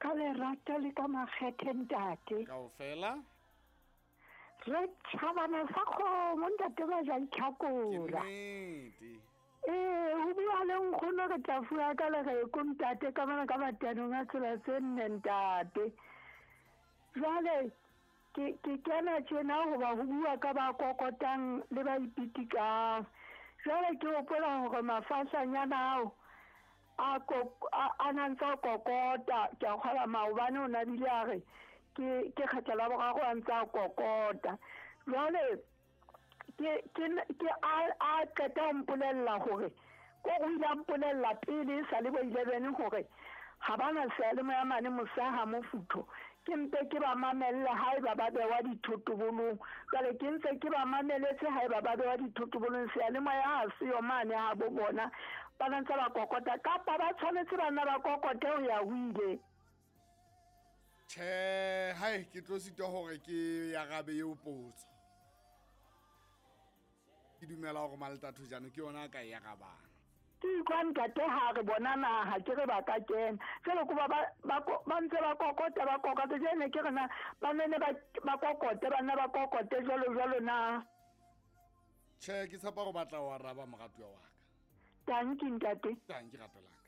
Ka lerato le ka makgethe ntate. Kaofela. Re tjhabana sa kgomo ntate ba ja Ke itlhakola. nnete. Ee, ho bua le nkgono re tla fuwa ka lereko ntate ka mona ka matanong a tsela tse nne ntate. Jwale ke ke kena tjena hoba ho bua ka ba kokotang le ba ipitikang. Jwale ke hopola hore mafahlanyana ao a ko- a a na ntse a kokota ke a kgola maobane o na bile a re ke ke kgetlo la boraro a ntse a kokota jwale ke ke ke a a qeta ho mpolella hore ko o ile a mpolella pele e sa le bo 11 hore ha ba na seyalemoya mane mosaha mofutho ke mpe ke ba mamelle haeba ba bewa dithotobolong jwale ke ntse ke ba mameletse haeba ba bewa dithotobolong seyalemoya ha seyo mane ha bo bona ba na ntse ba kokota kapa ba tshwanetse ba nna ba kokote ho ya ho ile. Tjhe, hai ke tlo sitwa hore ke arabe eo potso. Ke dumela hore Maltatho jano ke yona a ka e arabang. Ke utlwa ntate ha re bona naha ke re ba ka kena jwale ko ba ba ba ntse ba kokota ba kokota jwale ke re na ba nene ba ba kokote ba nna ba kokote jwalo jwalo na. Tjhe, ke tshepa hore ba tla o araba moratuwa wa ka. Tanki ntate. Tanki rato la ka.